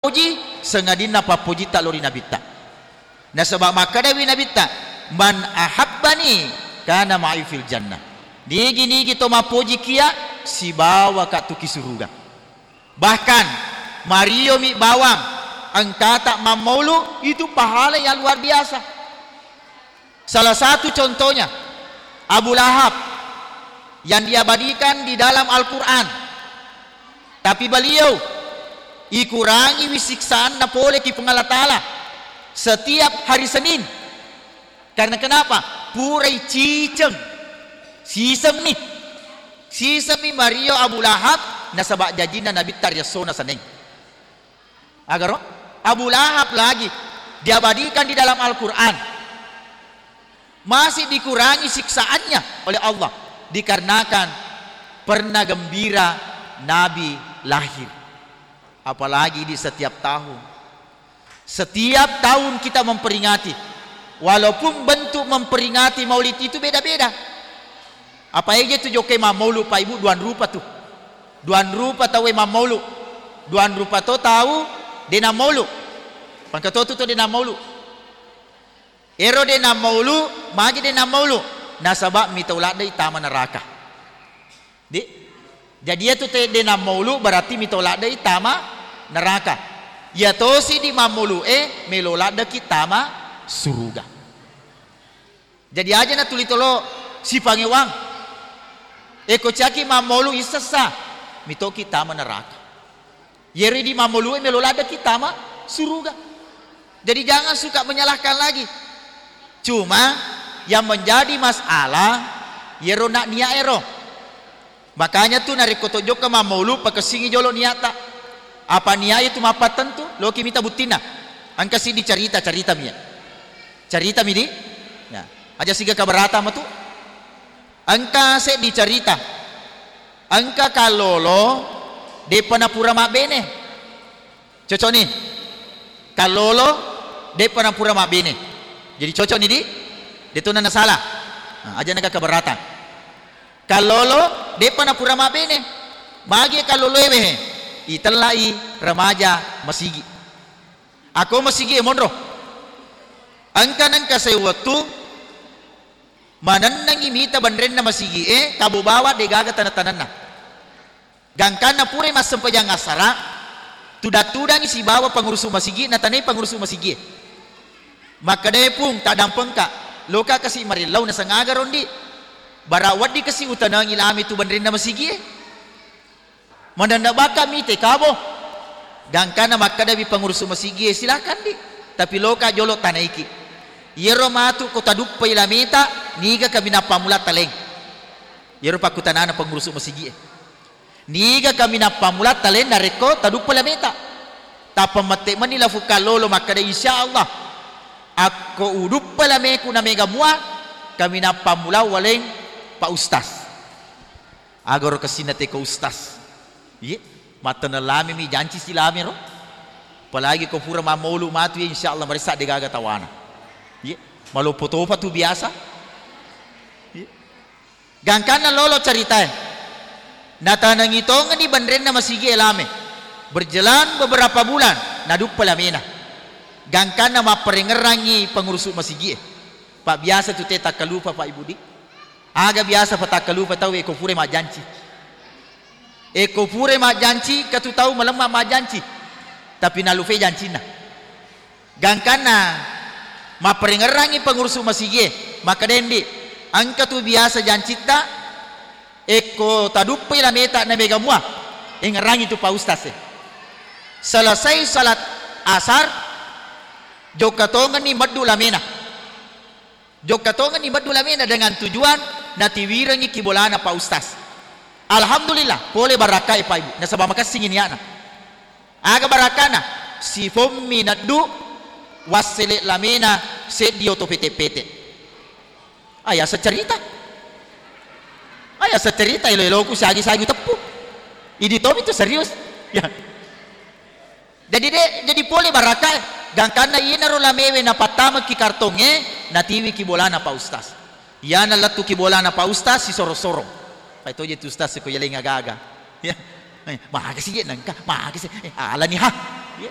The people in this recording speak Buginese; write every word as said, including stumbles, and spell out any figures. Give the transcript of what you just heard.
Puji, sangadinna pappojitta lao ri Nabitta. Nasaba makkedawi Nabitta, "Man ahabbani kana ma'i fil jannah." Nigi-nigi to mappojikia, sibawaka tu ki suruga. Bahkan, mariomi bawang engkata mammaulu, itu pahala yang luar biasa. Salah satu contohnya, Abu Lahab yang diabadikan di dalam Al-Quran. Tapi beliau ikurangiwi siksaanna pole ki Puang Allah Ta'ala setiap hari Senin. Karena kenapa? Purai ciceng. Siseng mi. Siseng mi mario Abu Lahab, nasaba jajinna Nabitta riassona Seneng. Agaro? Abu Lahab lagi diabadikan di dalam Al-Quran. Masih dikurangi siksaannya oleh Allah dikarenakan pernah gembira Nabi lahir. Apalagi di setiap tahun. Setiap tahun kita memperingati. Walaupun bentuk memperingati maulid itu beda-beda. Apa eja tu jokka mammaulu, Pak Ibu, duang rupa tu. Duang rupa tau mammaulu. Duang rupa to tau de nammaulu. Pangkatotu to de nammaulu. Ero de nammaulu, magi de nammaulu? Nasaba mita ladde tama neraka. Di? Jadi iyatu te de nammaulu berarti mita ladde tama neraka. Iya tosi di mammaulu e melo laddeki tama suruga. Jadi aja natuli tolo sipangewang. Eko caki mammaulu issessa, mitoki tama neraka. Yeri di mammaulu e melo laddeki tama suruga. Jadi jangan suka menyalahkan lagi. Cuma yang menjadi masalah yero nak niat ero. Makanya tu narekko to jokka mammaulu, pakessingi jolo niatta. Apa niat itu mappattentu, loki mita buttinna. Engka siddi carita, carita mi. Carita mi di? Ya. Aja siga kabarata matu. Engka seddi carita. Engka kallolo depa napura mabbene. Cocok ni. Kallolo depa napura mabbene. Jadi cocok ni di? Deto na salah. Nah, aja naga kabarata. Kallolo depa napura mabbene. Magi kallolo ewe he? Itellai remaja masigi. Ako masigi e monro. Engka nengka sewwettu manennengi mita benrenna masigi e, tabo bawa degaga taneng-tanenna. Gangkanna purai massempajang asara, tudang-tudangi sibawa pangurusu masigi, natanai pangurusu masigi e. Makkedae, "Pung, taddampengka, loka kasi marillau nasengaga rondi. Bara wedding kasi utanengi lame tu benrenna masigi e." Manenna baka mite kabo. Gangkanna makkedawi pangurusu masigi e, "Silakan di, tapi loka jolo tanaiki. Iyaro matu ko taduppai lameta, niga kaminang pammula taleng?" Iyaro pakkutanana pangurusu masigi e. Niga kaminang pammula taleng narekko taduppa lameta? Tappa mette meni lafu kallolo makkeda, "Insya Allah, akko uduppa lameku na mega mua, kaminang pammula waleng Pak Ustaz." Agaro kessinna teko ustaz. Iye, matteneng lame mi janci si lame ro. Apalagi ko pura mammaulu matu, ya, insya Allah maressa degaga tawana. Iye, maloppo topa tu biasa. Iye. Gangkanna lolo caritae. Natanengi tongeng di benrenna masigi e lame. Berjalan beberapa bulan, naduppa lamena. Gangkanna mapparengngerangi pengurusu masigi e. Pak, biasa tu te takkalupa, Pak Ibu di. Aga biasa patakkalupa tau, eko pura majjanci. Eko pura majjanci, katu tau malemma majjanci. Tapi nalufe jancinna. Gangkanna mapparengngerangi pengurusu masigi e, makkeda, "Ndi, engka tu biasa jancitta, ekko taduppai lameta na mega mua, engngerangi tu Pak Ustaz e." Selesai salat asar, jokka tongenni meddu lamena. Jokka tongenni meddu lamena dengan tujuan natiwirengi kibolana Pak Ustaz. Alhamdulillah, pole barakkae Pak Ibu, nasaba makessingi niatna. Aga barakkana? Sifommi neddu, wassele lamena seddi oto pete-pete. Aya secerita. Aya secerita, elo-eloku siagi-siagi teppu. Idi tomi tu serius. Ya. Jadi de, jadi pole barakkae, gangkanna iyanaro lamewe napattamaki kartongnge, natiwiki bolana Pak Ustaz. Iyana lettuki bolana Pak Ustaz, sisoro-soro. Pai toje tu Ustaz ko yaleng aga-aga. Ya. Eh, makasih je nengka, makasih. Eh, alani ha. Ya.